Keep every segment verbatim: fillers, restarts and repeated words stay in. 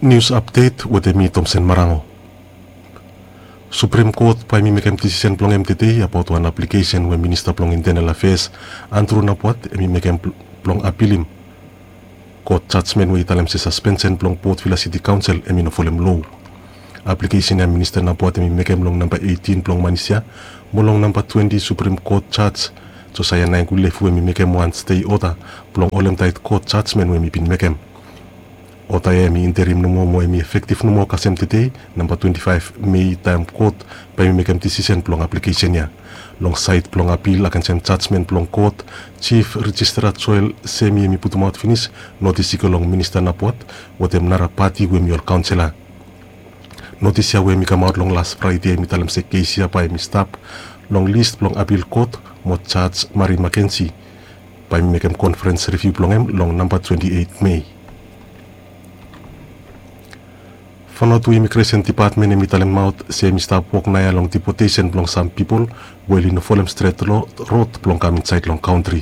Nius apdet wetem mi, Tomsen Marango. Suprem Kot bae mi mekem disisen blong hem tede abaot wan aplikesen we Minista blong Intenal Afeas, Andrew Napuat, hem i mekem bl- blong apilim kot jajmen we i talem se saspensen blong Port Vila Siti Kaonsel hem i no folem loa. Aplikesen ya Minista Napuat hem i mekem long namba eitin blong manis ya, mo long namba twenti Suprem Kot Jaj Josaia Naengulefu hem i mekem wan stei oda blong holemtaet kot jajmen we hem i bin mekem. Oda ya hem i interim nomo mo hem i efektiv nomo kasem tede, namba twenti faef Mei, taem kot bae hem i mekem disisen blong aplikesen ya. Long saed blong apil agensem jajmen blong kot, Jif Rijistara Joel Semi hem i putumaot finis notis i go long Minista Napuat wetem nara pati we hem i ol kaonsela. Notis ya we hem i kamaot long las Fraede hem i talem se kes ya bae hem i stap long lis blong apil kot mo Jaj Mari Makensi bae hem i mekem konferens riviu blong hem long namba twenti eit Mei. Vanuatu Imigresen Dipatmen hem i talemaot se hem i stap wok naoia long dipotesen blong sam pipol we oli no folem stret lo- rod blong kam insaed long kantri.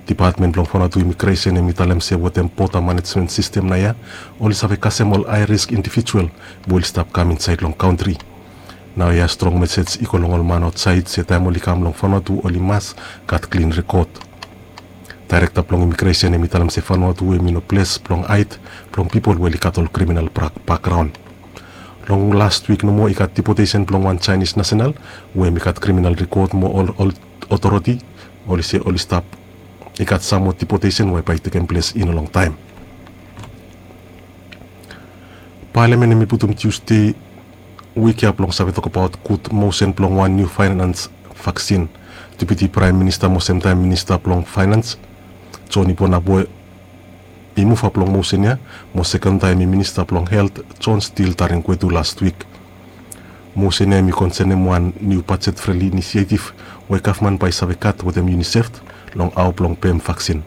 Dipatmen blong Vanuatu Imigresen hem i talem se wetem boda manejmen sistem naoia oli save kasem ol hae risk indivijual we oli stap kam insaed long kantri. Naoia strong mesej i go long ol man aotsaed se taem oli kam long Vanuatu oli mas gat klin rekod. Daerekta blong Imigresen hem i talem se Vanuatu hem i no ples blong haed blong pipol we oli gat ol kriminal brak- bakgraon. Long las wik nomo i gat dipotesen blong wan Jaenis nasenal we hem i gat kriminal rekod mo ol ol otoriti oli se oli stap i gat sam moa dipotesen we bae i tekem ples i no longtaem. Palamen hem i putum Tiusde wik ya blong save tokbaot gud mosen blong wan niu faenans vaksin. Deputi Praem Minista mo semtaem Minista blong Faenans, Joni Bonaboe, i muva blong mosen ya, mo sekon taem hem i Minista blong Helt, Jon Stil Tarenguetu las wik. Mosen ya hem i konsenem wan niu bajet freli inisiaetiv we gavman bae i save gat wetem Unicef long hao blong pem vaksin.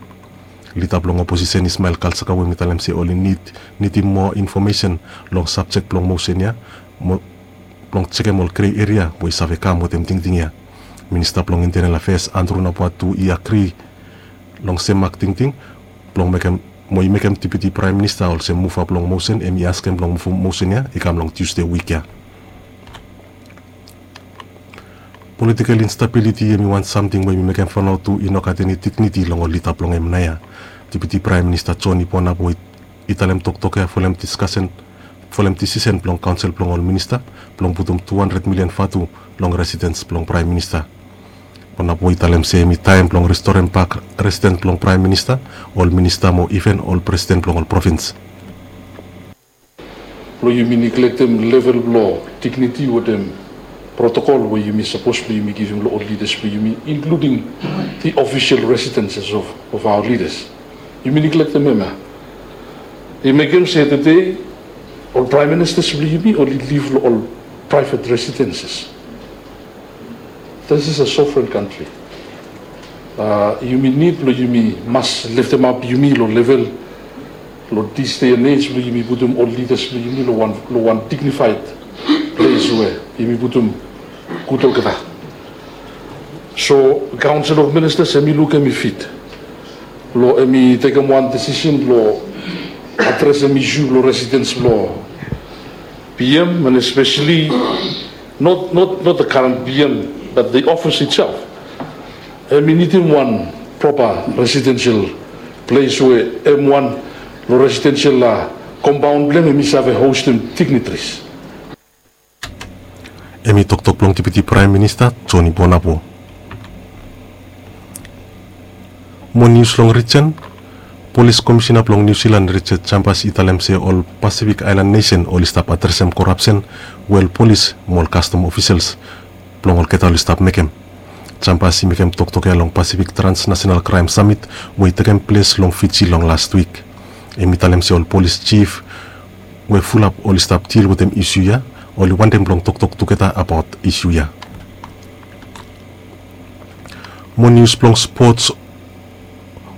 Lida blong oposisen Ismael Kalsaka we hem i talem se oli nid nidim moa infomesen long sabjek blong mosen ya mo blong jekem ol grei eria we i save kam wetem tingting ya. Minista blong Intenal Afeas Andrew Napuat tu i agri long sem mak tingting blong mekem mo i mekem Deputi Praem Minista olsem muva blong mosen hem i askem blong muvum mosen ya i kam long Tiusde wik ya. Politikel instabiliti hem i wan samting we hem i mekem Vanuatu i no gat eni digniti long ol lida blong hem naoia. Deputi Praem Minista Joni Bonaboe i talem toktok ya folem diskasen folem disisen blong kaonsel blong ol minista blong putum tu handred milian vatu long residens blong Praem Minista. Bonaboe i talem se hem i taem blong restorem bak residens blong Praem Minista, ol minista mo iven ol presiden blong ol provins. Blong yumi niglektem level blong digniti wetem protokol we yumi sapos blong yumi givim long ol lidas blong yumi, inkluding the official residences of of our leaders. Yumi niglektem hem ya. I mekem se tede ol praem ministas blong yumi oli liv long ol praevet residenses. This is a sovereign country. Yumi nid blong yumi mas leftemap yumi long level long this day and age blong yumi putum ol lidas blong yumi long wan dignifaed ples we yumi putum gud olgeta. So kaonsel of ministas hem i luk hem i fit blong hem i tekem wan disisen blong adresem isu blong residens blong P M and especially not the current P M but the office itself. Hem i nidim wan propa residensel ples we hem wan long residensel kompaon blong hem hem i save hostem dignitaries. Hem i toktok blong Deputi Praem Minista Joni Bonaboe. Mo nius long rijen. Polis Komisena blong Niu Silan Richard Chambers i talem se ol Pasifik Aelan nesen oli stap adresem korapsen we ol polis mo ol kastom ofisels blong olgeta oli stap mekem. Chambers i mekem toktok ya long Pasifik Transnasenal Kraem Samit we i tekem ples long Fiji long lastwik. Hem i talem se ol polis jif we fulap oli stap dil wetem isu ya oli wantem blong toktok tugeta abaot isu ya. Mo nius blong spots.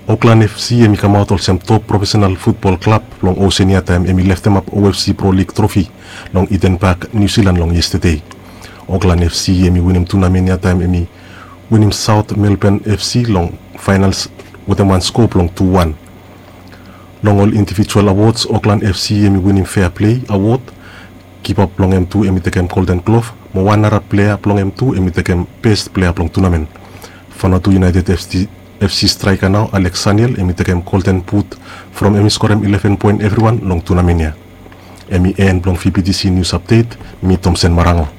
Oklan F C hem i kamaot olsem top profesenal futbol klab blong osen ya taem hem i leftemap O F C Pro Lig trofi long Eden Pak, Niu Silan long yestede. Oklan F C hem i winim tunamen ya taem hem i winim Saot Melban F C long faenals wetem wan sko blong tu wan. Long ol indivijual awods, Oklan FC hemi winim Fea Plea awod. Kipap blong hem tu hemi tekem Golden Glove, mo wan nara plea blong hem tu hemi tekem Best Plea blong tunamen. Vanuatu United FC straika nao Alex Saniel hemi tekem Golden Boot from hemi skorem ileven poen evriwan long tunamen ya. Hemi en blong VBTC nius apdet. Mi Tomsen Marango.